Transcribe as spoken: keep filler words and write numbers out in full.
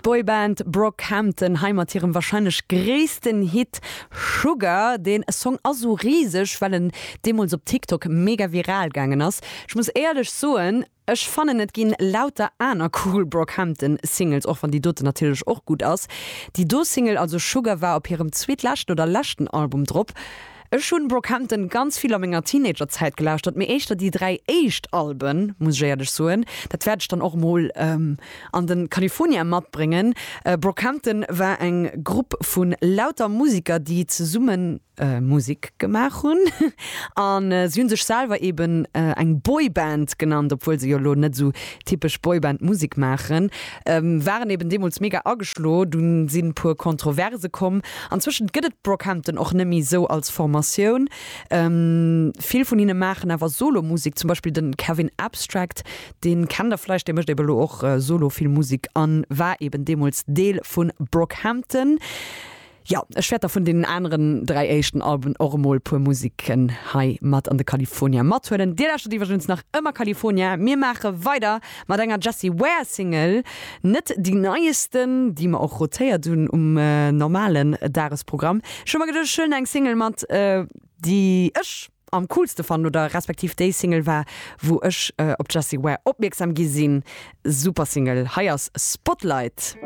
D'Boyband Brockhampton hei mat hirem warscheinlech gréissten Hit Sugar. Dee Song ass sou riseg, well en deemools op TikTok mega viral gaangen ass. Ech muss éierlech soen, ech fannen et ginn lauter aner cool Brockhampton Singles, och wann déi doten natierlech och gutt ass. Déi do Single, also Sugar, war op hirem zweetleschten oder leschten Album drop. Ech hunn Brockhampton ganz vill a menger Teenagerzäit gelauschtert, mee éischter déi dräi éischt Alben, muss ech éierlech soen. Dat wäert ech dann och mol an den California matbréngen. Brockhampton war eng Grupp vu lauter Musiker, déi zesumme Musek gemaach hunn. A si hunn sech selwer eben eng Boyband genannt, obwuel se jo elo net esou typesch Boyband-Musek maachen. Waren eben deemools mega ageschlo, dunn sinn e puer Kontroverse komm. Anzwëschent gëtt et Brockhampton och net méi esou als Formatioun. Vill vun hinne maachen awer Solo-Musek, zum Beispill de Kevin Abstract, dee kennt der vläicht, dee mécht eben elo och solo vill Musek a war eben deemools Deel vu Brockhampton. Jo, ech wäert der vun deenen aneren dräi éischten Alben och emol puer Musiken hei mat an de California mathuelen. Dir lauschtert iwwregens nach ëmmer California. Mir maache weider mat enger Jessie Ware Single, net déi neiesten, déi mer och rotéiert hunn um normalen Dagesprogramm. Ech hu mer geduecht, ech huelen eng Single mat, déi ech am coolste fannen oder respektiv déi Single war, wou ech op d'Jessie Ware opmierksam gi sinn. Super Single, hei ass Spotlight.